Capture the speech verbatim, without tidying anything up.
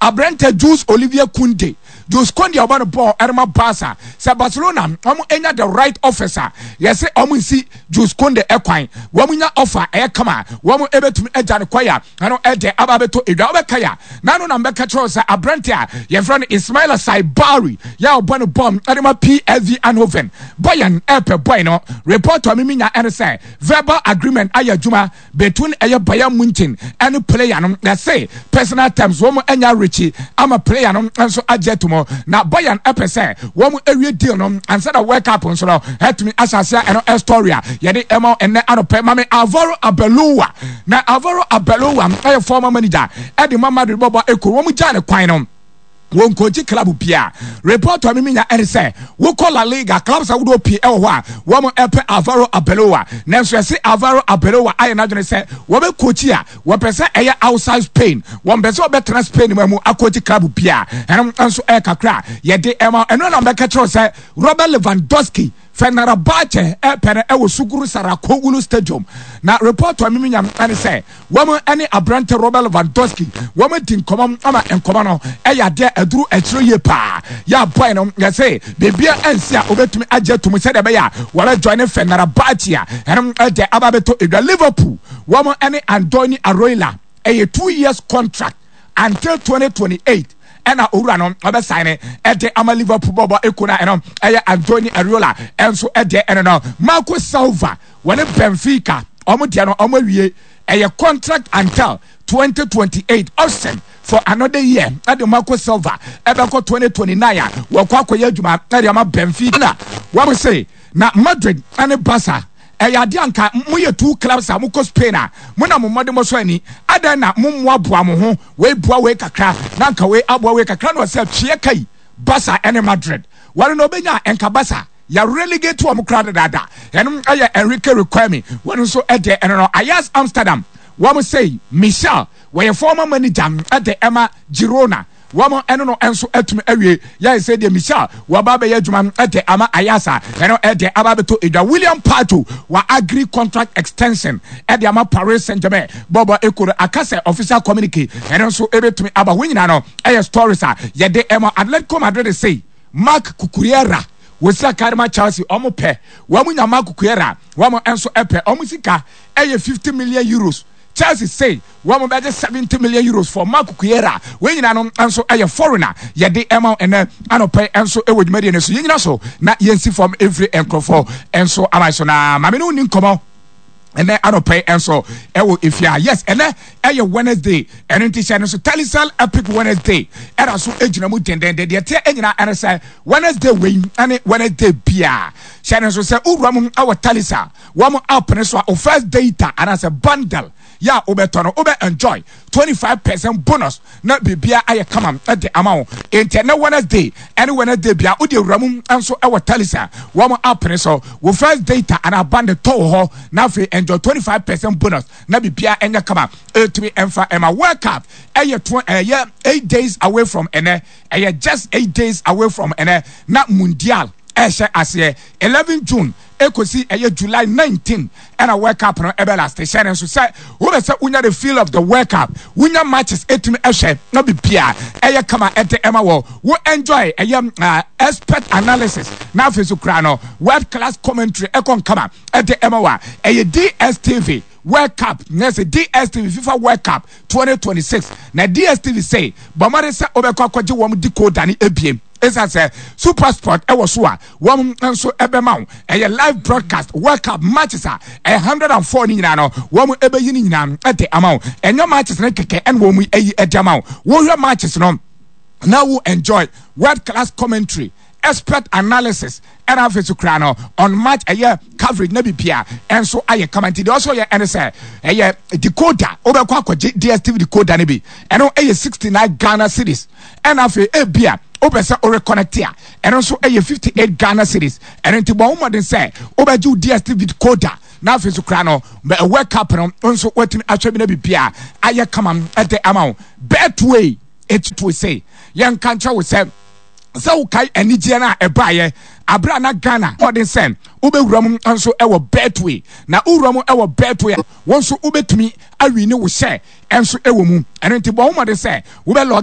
Aberante Jules Olivier Kounde, Jules Kounde a ɔbɔ no bɔɔl ɛrema Barca, sɛ Barcelona wɔn anya the right offers a, yɛsɛ wɔn nsi Jules Kounde ɛkwan. Wɔn nya offer ɛyɛ kama, wɔn ɛbɛtumi agya no kwan a ɛno ɛde aba abɛtɔ edwa. Wɔbɛka ya n'ano na mbɛka kyerɛw sɛ aberante a yɛfrɛ no Ismaila Saibari yɛ a ɔbɔ no bɔɔl ɛde ma P S V Eindhoven, Bayern ɛpɛ boy no. Report a mimi nya ɛne sɛ verbal agreement ayɛ adwuma between ɛyɛ Bayern Munchen ɛne player no. Yɛsɛ personal terms wɔn anya rekyi ama player no nso agye ato mu na Bayern ɛpɛ sɛ wɔn awie deal no ansa na World Cup nso no ɛtumi ahyɛ aseɛ. Ɛno ɛstory a yɛde ɛma ɛnɛ anɔpɛ. Mame Alvaro Arbeloa, na Alvaro Arbeloa ɛyɛ former manager ɛde ma Madrid bɔbɔ ekuro. Wɔn gya ne kwan no, wɔn nkɔgye club bia. Report a mimi nya ɛne sɛ wokɔ La Liga, clubs ahodoɔ pii ɛwɔ hɔ a wɔn ɛpɛ Alvaro Arbeloa, nanso yɛsi Alvaro Arbeloa ayɛ n'adwene sɛ wɔbɛ coach a, wɔpɛ sɛ ɛyɛ outside Spain. Wɔn pɛ sɛ wɔbɛtena Spain mu mu akɔgye club bia. Ɛno nso ɛyɛ kakra yɛde ɛma. Ɛno na bɛka kyerɛw sɛ Robert Lewandowski, Fenerbahce ɛpɛ no ɛwɔ Sukru Saracoglu Stadium. Na report a mimi nya ɛne sɛ wɔn ɛne aberante Robert Lewandowski wɔn di nkɔmɔ ama nkɔmɔ no ɛyɛ adeɛ aduru akyire yie paa. Yɛ abɔɛ no, yɛsɛ beebi a ɛnsi a obetumi agye atum sɛdeɛ ɛbɛyɛ a wɔbɛ join Fenerbahce a ɛno ɛde aba abɛtɔ edwa. Liverpool wɔn ɛne Andoni Iraola ɛyɛ two years contract until twenty twenty-eight ɛna owura no ɔbɛsan ne ɛde ama Liverpool bɔbɔ eko na ɛno ɛyɛ Andoni Iraola ɛnso ɛdeɛ. Ɛno no, Marco Silva wɔne Benfica ɔmo deɛ no ɔmo awie, ɛyɛ contract until twenty twenty-eight, option for another year ɛde Marco Silva ɛbɛkɔ twenty twenty-nine a wɔkɔ akɔyɛ adwuma ɛde ama Benfica. Na wɔn se na Madrid ɛne Barca ɛyɛ adeɛ anka moyɛ two clubs a mokɔ Spain a mo na mo mmɔde mo so ani adan na mo mmoaboa mo ho, wei boa wei kakra na nka wei aboa wei kakra na ɔsɛ twea kai Barca ɛne Madrid wɔn na ɔbɛnya nka Barca yɛ relegate wɔn kora dadaada. Ɛno ɛyɛ Enrique Riquelme, wɔn nso ɛdeɛ. Ɛno no, Ajax Amsterdam wɔn sɛ Michel, wɔyɛ former manager ɛde ɛma Girona, wɔn ɛno no nso atumi awie. Yɛn sɛ deɛ Michel wɔba abɛyɛ adwuma ɛde ama Ajax, ɛno ɛde aba abɛtɔ edwa. William Pacho wa agree contract extension ɛde ama Paris Saint Germain bɔbɔ ekoro akasɛ official communique ɛno nso ebɛtumi aba. Wɔn nyinaa no ɛyɛ stories a yɛde ɛma. Atletico Madrid say Marc Cucurella wosi akarima Chelsea, ɔmo pɛ wɔn nya Marc Cucurella, wɔn nso ɛpɛ ɔmo sika ɛyɛ fifty million euros. Chelsea say wɔn bɛgye seventy million euros for Marc Cucurella. Wɔn nyinaa no nso ɛyɛ foreigner yɛde ɛma ɛnɛ anɔpɛ nso ɛwɔ dwumadie no so. Yɛn nyina so na yɛnsi fam efiri nkurɔfoɔ nso ama so na maame no ni nkɔmɔ ɛnɛ anɔpɛ nso ɛwɔ efia. Yes, ɛnɛ ɛyɛ Wednesday, ɛno nti hyɛ no so Telecel Epic Wednesday ɛna so egyina mu dendenden. Deɛ teɛ ɛnyina ɛne sɛ Wednesday wei ɛne Wednesday bia, hyɛ no nso sɛ owura mu ɛwɔ Telecel wɔn app ne so a, o first data anaasɛ bundle yɛ a wobɛtɔ no, wobɛ enjoy twenty five percent bonus na biribia ayɛ kama ɛde ama wo. Nti ɛnɛ Wednesday ɛne Wednesday bia, wode awura mu nso ɛwɔ Telecel wɔn app ne so, wo first data anaa bundle tɔ wɔ hɔ na afei enjoy twenty five percent bonus na biribia ɛnyɛ kama. Ɛtumi ɛmfa ɛma World Cup ɛyɛ to ɛyɛ eight days away from ɛnɛ, ɛyɛ just eight days away from ɛnɛ na Mundial ɛhyɛ aseɛ eleven June ekosi ɛyɛ July nineteen ɛna World Cup no ɛbɛ last. Hyɛ ne nso sɛ wobɛ sɛ wonya the feel of the World Cup, wonya matches etumi ɛhwɛ na bibia ɛyɛ kama ɛde ɛma wɔ wo enjoy ɛyɛ uh, expert analysis na afei so kura no world class commentary ɛkɔ nkama ɛde ɛma wɔ ɛyɛ D S T V World Cup na ɛsɛ D S T V FIFA World Cup twenty twenty-six. Na D S T V say bɔmmɔde sɛ wobɛkɔ akɔgye wɔn decoder ne ebiem ɛsiane sɛ Super Sport ɛwɔ so a, wɔn nso ɛbɛma wo ɛyɛ live broadcast World Cup matches a ɛyɛ hundred and four ne nyinaa no, wɔn ɛbɛyi ne nyinaa ɛde ama wo. Ɛnyɛ matches ne kɛkɛ ɛna wɔn ayi ɛde ama wo. Wɔhwɛ matches no na wo enjoy world class commentary, expert analysis, ɛna afei so kura no on match ɛyɛ coverage na bibia ɛnso ayɛ kama. Nti deɛ ɔsɔ yɛ ɛne sɛ ɛyɛ decoder, wobɛkɔ akɔgye D S T V decoder no bi, ɛno ɛyɛ sixty nine Ghana cedis, ɛna afei ebia wopɛ sɛ woreconnect a, ɛno nso ɛyɛ fifty eight Ghana cedis. Ɛno nti bɔ wo mmɔden sɛ wobɛgye wo D S T V decoder na afei so kura no World Cup no nso watumi ahwɛ bi na bibia ayɛ kama ɛde ama wo. Betway etutu sɛ yɛnka nkyɛn wo sɛ sɛ wokae anigyeɛ no a ɛbaeɛ abere a na Ghana ɔden sɛ wobɛwura mu nso ɛwɔ Betway, na wowura mu ɛwɔ Betway a, wɔn nso wobɛtumi awi ne wo hyɛ nso ɛwɔ mu. Ɛno nti bɔ wo mmɔden sɛ wobɛ log